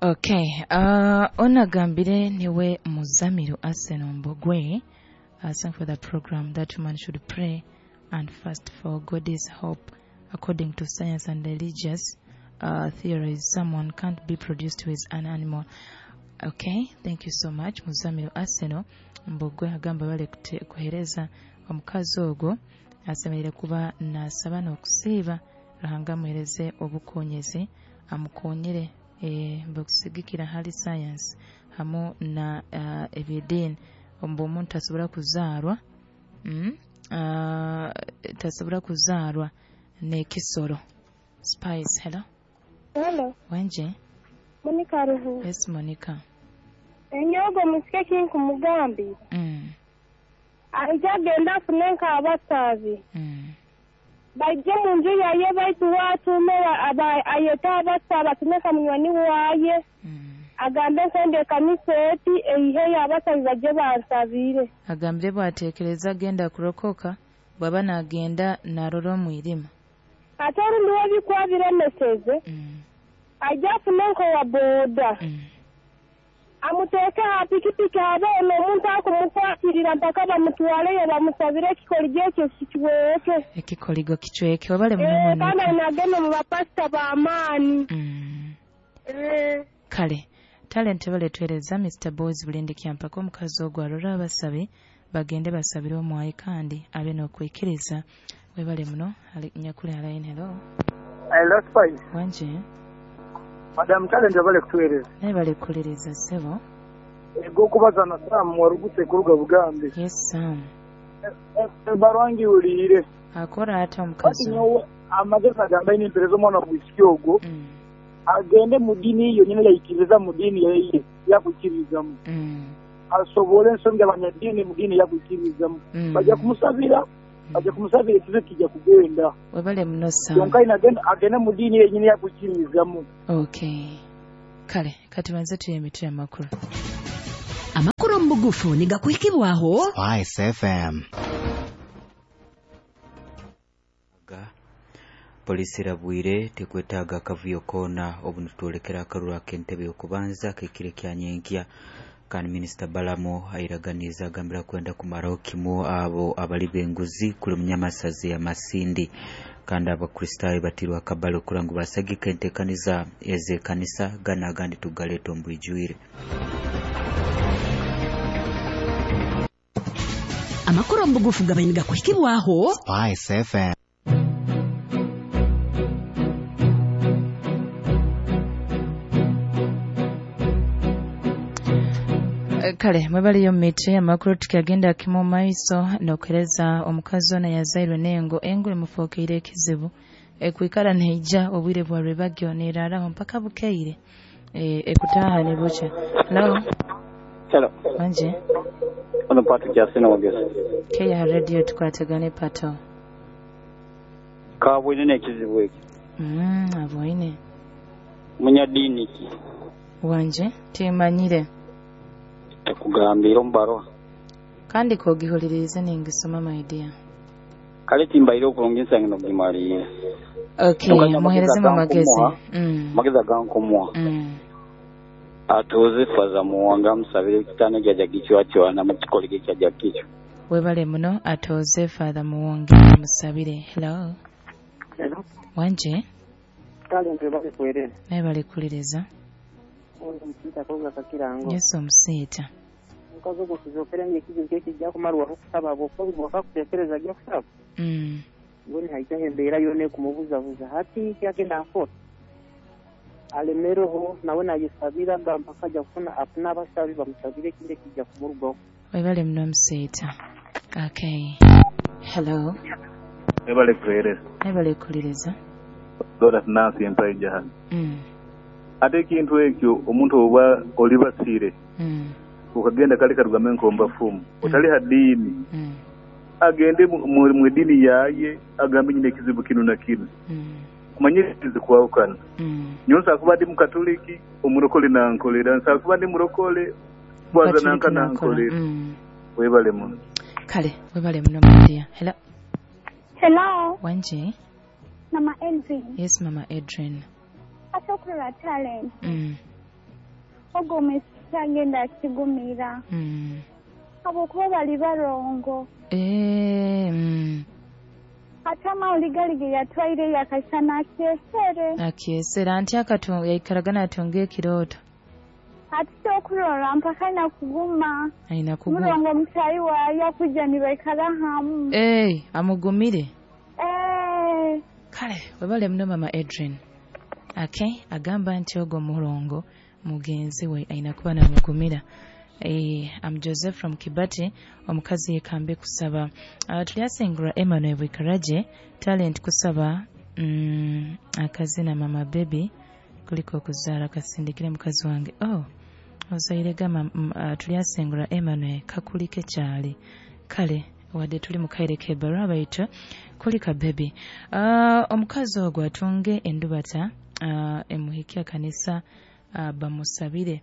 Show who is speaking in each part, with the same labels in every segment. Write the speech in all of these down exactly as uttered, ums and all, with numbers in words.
Speaker 1: Okay, uh, onagambire niwe Muzamiru Arsenal Mbogwe. Uh, thank for the program that woman should pray and fast for God's hope. According to science and religious uh, theories, someone can't be produced with an animal. Okay, thank you so much Muzamiru Arsenal Mbogwe. Agamba bale kute- kuhereza omukazi ogwo asemerere kuba nasaba n'okusiiba Ruhanga amuhereze obukonyezi amukonyere eh, bukusigikira hali science hamu na uh, ebyediini ombu omuntu tasobora kuzaarwa mm, uh, tasobora kuzaarwa n'ekisoro. Spice, hello.
Speaker 2: Hello,
Speaker 1: Wenje.
Speaker 2: Monica Ruhu.
Speaker 1: Yes, Monica.
Speaker 2: Enyogo musike kinkumugambira.
Speaker 1: mm.
Speaker 2: Aija agenda afune nk'abasabi.
Speaker 1: Mm.
Speaker 2: Baije mu nju yaye baitu watume aba- ayete abasabi atume ka munywani waye.
Speaker 1: Mm.
Speaker 2: Agambe nkwenda ekanisa eti eiheyo abasabi baje bansabire.
Speaker 1: Agambire bwatekereza agenda kurokoka bwaba nagenda narora omwirima.
Speaker 2: Ate orundi webikuba biremeseze
Speaker 1: mm.
Speaker 2: aija afune nkowa boda.
Speaker 1: Mm.
Speaker 2: Amuteeke ha pikipiki habe ono omuntu akumukwatirira mpaka bamutwaleyo bamusabire ekikoligo ekyo kikiweke.
Speaker 1: Ekikoligo kicweke. Wabale muno.
Speaker 2: Eh, kandi
Speaker 1: Monica.
Speaker 2: ainagenda mu bapasita b'amaani.
Speaker 1: mm.
Speaker 2: Eh.
Speaker 1: Kale talent baletwereza Mister Boys Bulindi Kyampaka omukazi ogwo arora abasabi bagende basabire omwayi kandi abe n'okwikiriza. Webale muno. Ali- nyakuli alaini. Hello.
Speaker 3: Hello, Spice.
Speaker 1: Wanje.
Speaker 3: Madam Talent abale kutuweereza.
Speaker 1: Naye balekuliriza ssebo.
Speaker 3: Eg'okubaza na Sam waruguse kuruga Bugambe.
Speaker 1: Yes, Sam.
Speaker 3: Barwangiwuliire.
Speaker 1: Akora ata
Speaker 3: Kati
Speaker 1: omukazi ogwo?
Speaker 3: nyowe amagezi agamba ine mpereza omwana bwisiki ogwo
Speaker 1: Mm.
Speaker 3: agende mu ddiini yo nyine yayikiriza mu ddiini yeye yakukkirizamu
Speaker 1: Mm.
Speaker 3: asobole ensonga abanyaddiini mu ddiini yakukkirizamu
Speaker 1: Mm.
Speaker 3: bajja kumusabira bajja kumusabira ekizibu kijja kugenda.
Speaker 1: Webale muno, Sam.
Speaker 3: Kyonka ine agende agende mu ddiini yenyini yakukkirizamu.
Speaker 1: Okay, kale kati banze tuye emitwe amakulu.
Speaker 4: Amakuru mu bugufu nigakuhikibwaho
Speaker 5: Spice F M.
Speaker 6: Ga polisi erabwire tekwetaaga akavuyo koona obu nitwolekera akaruru ak'entebe y'okubanza kekire kya nyenkya. Kandi minisita Balamu airaganiza agambira kwenda kumaraho kimu abo abali b'enguzi kuli munyamasazi ya Masindi. Kandi abakristaayo batirwe akabale okura ngu basagika enteekaniza ez'ekanisa gana agandi tugaleeta omu bwijwire.
Speaker 4: Amakuru mu bugufu gabaye nigakuhikibwaho
Speaker 5: Spice F M.
Speaker 1: Eh, kale mwebaliyo mumiti amakulu tukyagenda kimu maiso n'okuhereza omukazi ono yazairwe n'engo engo emufuukiire ekizibu ekwikara neija obwire bwa rwebagyo neraraho mpaka bukeire e, ekutaha ne bukya. Hello.
Speaker 7: Hello.
Speaker 1: Wanje.
Speaker 7: Ono Patrick Asena Wagesa.
Speaker 1: Keya radio tukwatagane pato.
Speaker 7: Kabwine n'ekizibu ekyo.
Speaker 1: mm, abwoine
Speaker 7: Munyaddiini ki?
Speaker 1: Wanje timanyire.
Speaker 7: Tekugambira omu baruha.
Speaker 1: Kandi kogihulirize ningisoma, my dear.
Speaker 7: Kale timbaire okurungi nsange n'ogimaliire.
Speaker 1: Okay.
Speaker 7: Kyonka amagezi
Speaker 1: muherezemu amagezi.
Speaker 7: agankumuha,
Speaker 1: mm.
Speaker 7: amagezi agankumuha.
Speaker 1: Mm.
Speaker 7: Atuuze Faza Muwanga amusabire ekitaano gyajja gicwacwana mu kikoligo ekyajja kikyo.
Speaker 1: Webale muno. Atoze Father Muwonge musabire. Hello.
Speaker 8: Hello.
Speaker 1: Wanje.
Speaker 8: Talent bali kuwereza.
Speaker 1: Naye balekuliriza.
Speaker 8: Oyo omusiita koga kakirango.
Speaker 1: Yesu omusiita.
Speaker 8: Omukazi ogwo kuzokera ekizibu kye kijja kumarwa okusaba bw'okuba bwakakuteekereza ajja kusaba.
Speaker 1: mm.
Speaker 8: Mbona haijaho embeera yona ekumubuzabuza hati kyagenda nkora alemereho nawe nayesabira nga mpaka ajja kufuna afune abasabi bamusabire ekindi ekijja kumurugaho.
Speaker 1: Webale muno omusiita. Okay, hello.
Speaker 9: Ebale kuhereza.
Speaker 1: Naye balekuliriza.
Speaker 9: Dora Nansi empaija hano.
Speaker 1: mm.
Speaker 9: Ate ekintu ekyo omuntu oba olibasiire
Speaker 1: Mm.
Speaker 9: ukagenda kale karugambe nkomba fumu otali hadiini
Speaker 1: Mm.
Speaker 9: agende mu- mu mu eddiini yaye agambe nyina ekizibu kino na kino
Speaker 1: Mm.
Speaker 9: kumanye zikwawukana.
Speaker 1: Mm.
Speaker 9: Nyowe nsobola kuba ndi mukatoliki omurokole nankolera, nsobola kuba ndi murokole bwaza
Speaker 1: Mukatoliki
Speaker 9: nanka
Speaker 1: nakola.
Speaker 9: nankolera.
Speaker 1: Mm.
Speaker 9: Webale muno.
Speaker 1: Kale webale muno, my dear. Hello.
Speaker 2: Hello,
Speaker 1: Wanje.
Speaker 2: Mama Edwin.
Speaker 1: Yes, Mama Adrian.
Speaker 2: Asokurora Talent.
Speaker 1: mm.
Speaker 2: Ogwo omwisiki agenda akigumira.
Speaker 1: Mm.
Speaker 2: Habwokuba bali barongo.
Speaker 1: Eh, mm.
Speaker 2: Ate amawuli gali ge yatwaire yakasana akyesere.
Speaker 1: Akyesera anti akatunga yaikaraga natunga ekirooto.
Speaker 2: Ati kyokurora mpaka nakuguma.
Speaker 1: Aina kuguma.
Speaker 2: Murongo mutayi waayo akujja nibaikara hamu.
Speaker 1: Eh, amugumire.
Speaker 2: Eh.
Speaker 1: Kale, webale muno mama Adrian. Okay, agamba nti ogwo mulongo mugenzi we aina kuba namugumira. Eh, I'm Joseph from Kibati, omukazi yekambe kusaba. Uh, tulyasingura Emmanuel Bwikaraje, talent kusaba mm, akazina mama baby kuliko okuzaala kasindikire mukazi wange. Oh, ozaire gama mm, uh, tulyasingura Emmanuel kakulike kyali. Kale wadde tuli mu kaire k'ebbaluwa baitu kulika baby. Uh, omukazi ogwo atunge endubata uh, emuhikya kanisa uh, bamusabire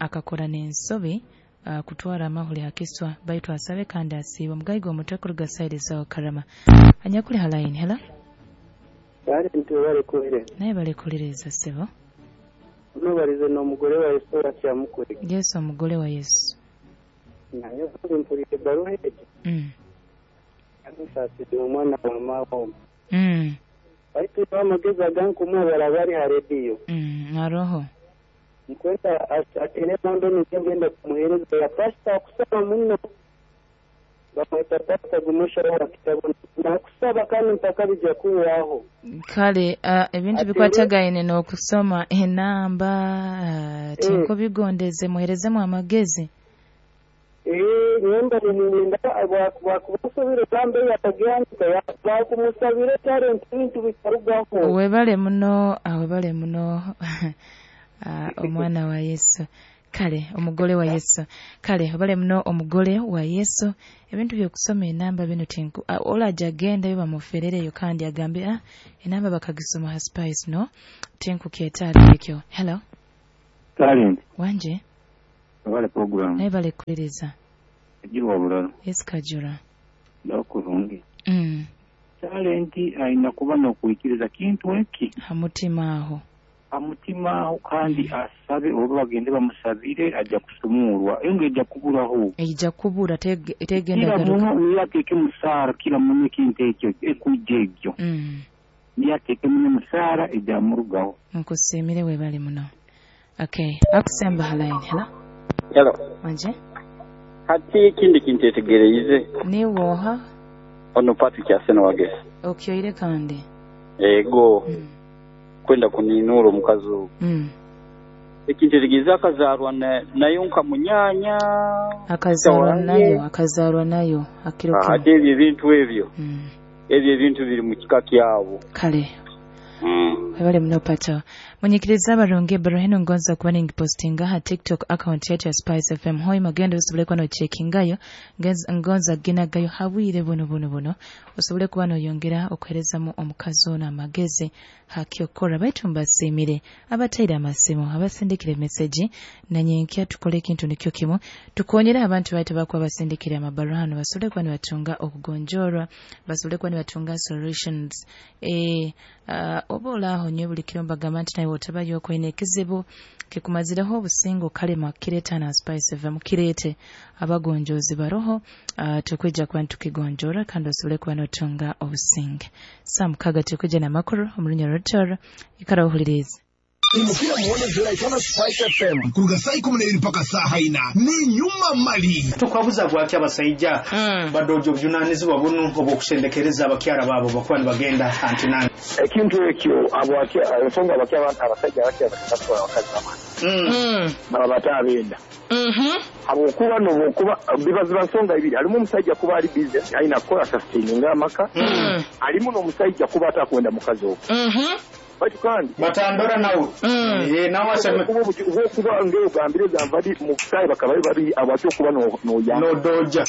Speaker 1: akakora n'ensobi uh, kutwara amahuli hakiswa baitu asabe kandi asiibe omugayiga omutwe kuruga saidi zawo karama anyakuli halaini. Hela
Speaker 8: bali nti balekulire
Speaker 1: naye balekuliriza ssebo
Speaker 8: unobalize n'omugole wa Yesu wakyamukulika
Speaker 1: Yesu omugole wa Yesu
Speaker 8: naye mpulire ebbaluwa egyo
Speaker 1: mm.
Speaker 8: amusaasidde omwana wa maawo
Speaker 1: mm.
Speaker 8: baitu amagezi agankumuwa baraba ha rediyo
Speaker 1: mm. aroho
Speaker 8: nkwenda atere namba nigenda kumuhereza ya pasita akusaba muno bamwita pasita gumusha wa kitabu nakusaba kandi mpaka bijja kuwaho
Speaker 1: kale uh, ebintu bikwatagaine n'okusoma enamba uh, tinko bigondeze muherezemu amagezi
Speaker 8: eh nyemba nininda bwakumusabira namba yatagandika bakumusabira talent bintu bitarugaho
Speaker 1: webale muno webale muno Uh, omwana wa Yesu kale omugole wa Yesu kale obale muno omugole wa Yesu ebintu byokusoma enamba bino tinku uh, olaja agenda yo bamuferereyo kandi agambe ah enamba bakagisoma ha Spice no tinku kyetaaga ekyo. Hello
Speaker 10: talent
Speaker 1: wanje
Speaker 10: abale program
Speaker 1: naye bale kuliriza
Speaker 10: ejirwa bulalo
Speaker 1: Yesu kajura
Speaker 10: ndakurungi
Speaker 1: mm.
Speaker 10: talent ayina kuba n'okwikiriza kintu eki
Speaker 1: hamutima aho
Speaker 10: amutima kandi asabe oba bagende bamusabire ajja kusumulwa engo ejja kuburaho
Speaker 1: ejja kubura tegenda
Speaker 10: garuka kila muno yateeke musaara kila muno ekintu ekyo ekujja ekyo
Speaker 1: mm.
Speaker 10: yateeke muno musaara ejja murugaho
Speaker 1: nkusiimire webale muno. Okay, akusemba halaini. Hello
Speaker 7: hello
Speaker 1: wanje
Speaker 7: hati ekindi kintu etegereize
Speaker 1: niwoha
Speaker 7: ono Patrick Aseno wagesi
Speaker 1: okyoire kandi
Speaker 7: ego
Speaker 1: mm.
Speaker 7: kwenda kuninura omukazi ogwo
Speaker 1: mm.
Speaker 7: ekintu etegeeza akazaarwa nayo nka munyanya
Speaker 1: akazaarwa nayo akazaarwa nayo akiro
Speaker 7: ate ebyo ebintu ebyo
Speaker 1: mm.
Speaker 7: ebyo ebintu biri mu kika kyabo
Speaker 1: kale
Speaker 7: mm.
Speaker 1: webale muno pato munyikiriza abarungi ebbaluwa eno ngonza kuba ningipostinga ha TikTok account yetu ya Spice F M hoi magendo osobole kuba nocheckingayo ngonza ginagayo habwire buno buno buno osobole kuba noyongera okuherezamu omukazi ono amagezi hakyokora baitu mbasiimire abataire amasimu abasindikire meseji nanyenkya tukole ekintu nikyo kimu tukonyere abantu baitu bakuba basindikire amabaruha hano basobole kuba nibatunga okugonjorwa basobole kuba nibatunga solutions e, uh, oba olaaho nyo buli kiro mbagamba nti naye otabayo okwine ekizibu kikumazireho obusingo kalema kireeta na Spice F M kireete abagonjozi baroho uh, tukwijja kuba nitukigonjora kandi osobole kuba notunga obusinge saa mukaga tukwijja n'amakuru omu Rutoro ikara ohulirize
Speaker 11: imukira muone ziraitana Spice F M kuruga saa ikumi n'ebiri mpaka saa ina ni nyuma mali
Speaker 12: tukwabuza bwaki abasaija mm. badojo obuvunanyizibwa buno obw'okusendekereza abakyala baabo bakuba nibagenda antinani
Speaker 3: ekintu ekyo ensonga abasajja abakyala batwala abakazi bamani baba bataabenda habwokuba nobwokuba biba ziba nsonga ibiri alimu omusajja kuba ali busy alina kukola sustaininga amaka alimu n'omusajja kuba atakwenda mukazi ogwo baitu kandi
Speaker 12: batandora nawe eh nawe aseme
Speaker 3: kuba ngeo gambire zamvadi mu kusai bakaba bari abacyo kuba no no ya
Speaker 12: no doja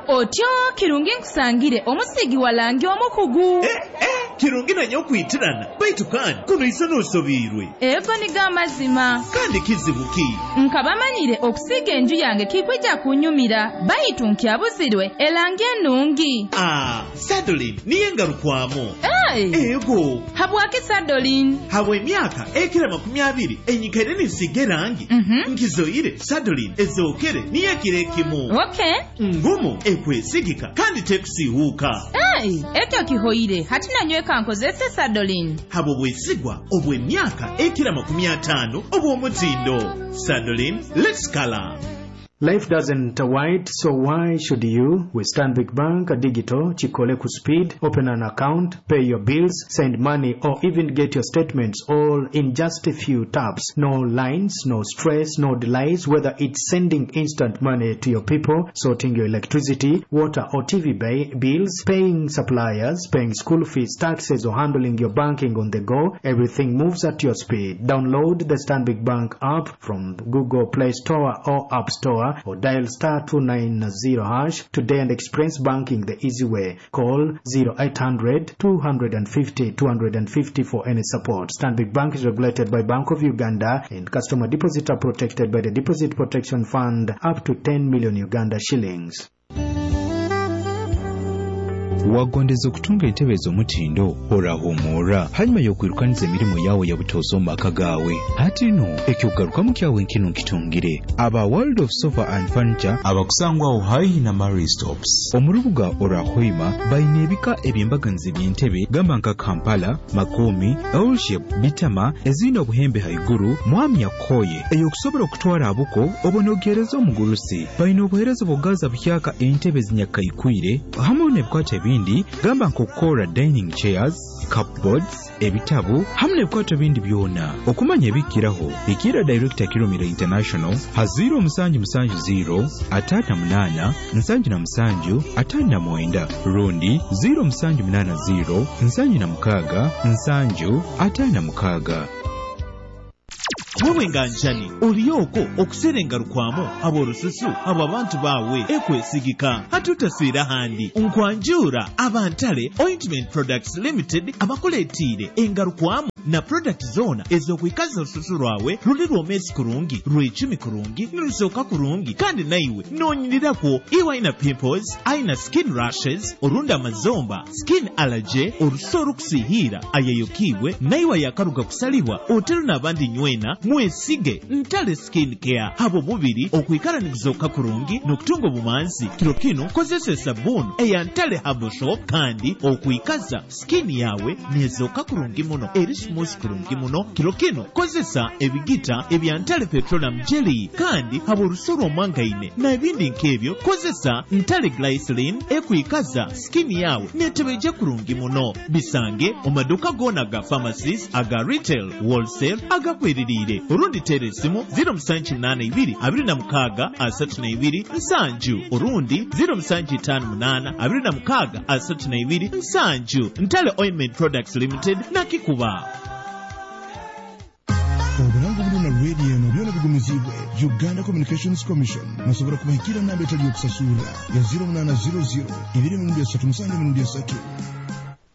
Speaker 1: Otyo kirungi nkusangire omusigi walangi omukugu
Speaker 11: eh, eh.
Speaker 13: Kirungi nanyo okwitirana baitu kandi kuno iso n'osobiirwe.
Speaker 1: Ego niga amazima.
Speaker 13: Kandi kizibu ki?
Speaker 1: Nkabamanyire okusiiga enju yange kikwija kunyumira baitu nkyabuzirwe erangi ennungi.
Speaker 13: Ah, Sadolin niye ngarukwamu.
Speaker 1: Hey.
Speaker 13: Ego.
Speaker 1: Habwaki Sadolin?
Speaker 13: Habwa emyaka ekira makumi abiri enyikaire ninsiiga erangi.
Speaker 1: Mm -hmm.
Speaker 13: Nkizoire Sadolin ezookere niyo ekiro ekimu.
Speaker 1: Okay.
Speaker 13: Ngumu ekwesigika kandi tekusiihuuka.
Speaker 1: Hey, ekyo kihoire hati nanyweka nkozese Sadolin.
Speaker 13: Habwo bwesigwa obw'emyaka ekira makumi ataano obw'omutindo. Sadolin, let's color.
Speaker 12: Life doesn't wait, so why should you? With Stanbic Bank Digital, Chikole Speed, open an account, pay your bills, send money, or even get your statements all in just a few taps. No lines, no stress, no delays, whether it's sending instant money to your people, sorting your electricity, water or T V bills, paying suppliers, paying school fees, taxes, or handling your banking on the go, everything moves at your speed. Download the Stanbic Bank app from Google Play Store or App Store, or dial star two nine zero hash today and experience banking the easy way. Call zero eight hundred two fifty two fifty for any support. Stanbic Bank is regulated by Bank of Uganda and customer deposits are protected by the Deposit Protection Fund up to ten million Uganda shillings.
Speaker 14: Wagondeza okutunga entebe ez'omutindo orahumura hanyuma y'okwirukaniza emirimu yawe ya butoosa omu maka gaawe. Hati no ekyokugarukamu kyawe nkino nkitungire aba World of Sofa and Furniture abakusangwaho haihi na Marie Stops omu rubuga orwa Hoima baine ebika eby'embaganiza eby'entebe gamba nka Kampala, Makomi, L-shape, Bitama ezine obuhembe haiguru mwami yakoye eyokusobola okutwara abuko obonogereza omugurusi. Baine obuhereza bw'okugaza buhyaka entebe zinyakaikwire hamwe n'ebikwato ebindi gamba nk'okukora dining chairs, cupboards, ebitabu hamwe n'ebikwato bindi byona. Okumanya ebikiraho ikira Director Kirumira International ha zero musanju musanju zero atano munana nsanju na musanju atano na mwenda rundi zero musanju munana zero nsanju na mukaga nsanju atano na mukaga.
Speaker 13: Wewe nganjani oliyoko okuserenga rukwamo aborususu abo abantu bawe ekwesigika hatutaswira handi nkwanjura abantale Ointment Products Limited abakuletire engarukwamo na product zona ezokwikaza orususu rwawe ruli rwomesi kurungi rwecumi kurungi nirusoka kurungi kandi naiwe nonyirirako iwe aina pimples aina skin rashes orunda amazomba skin allergy orusu orukusihira ayayokibwe naiwe yakaruga kusalibwa otero n'abandi nywena mwesige Ntale Skin Care habo mubiri okwikara nikuzoka kurungi n'okutunga obumanzi. Kiro kino kozesa esabuni eya Ntale Herbal Shop kandi okwikaza skin yawe nezoka kurungi muno eri smooth kurungi muno. Kiro kino kozesa ebigita ebya Ntale Petroleum Jelly kandi habo orusoro omwangaine na ebindi nk'ebyo kozesa Ntale Glycerin ekwikaza skin yawe netebeje kurungi muno. Bisange omaduka gona ga pharmacies aga retail wholesale agakweririire orundi tera esimu zero musanju munana ibiri abiri na mukaga asatu na ibiri nsanju orundi zero musanju itaano munana abiri na mukaga asatu na ibiri nsanju. Ntale Ointment Products Limited nakikuba.
Speaker 11: Obulango bulina radio eno byona bigumizibwe Uganda Communications Commission nasobola kubahikira namba etali yokusasula ya zero munana zero zero ibiri mirundi esatu musanju mirundi esatu.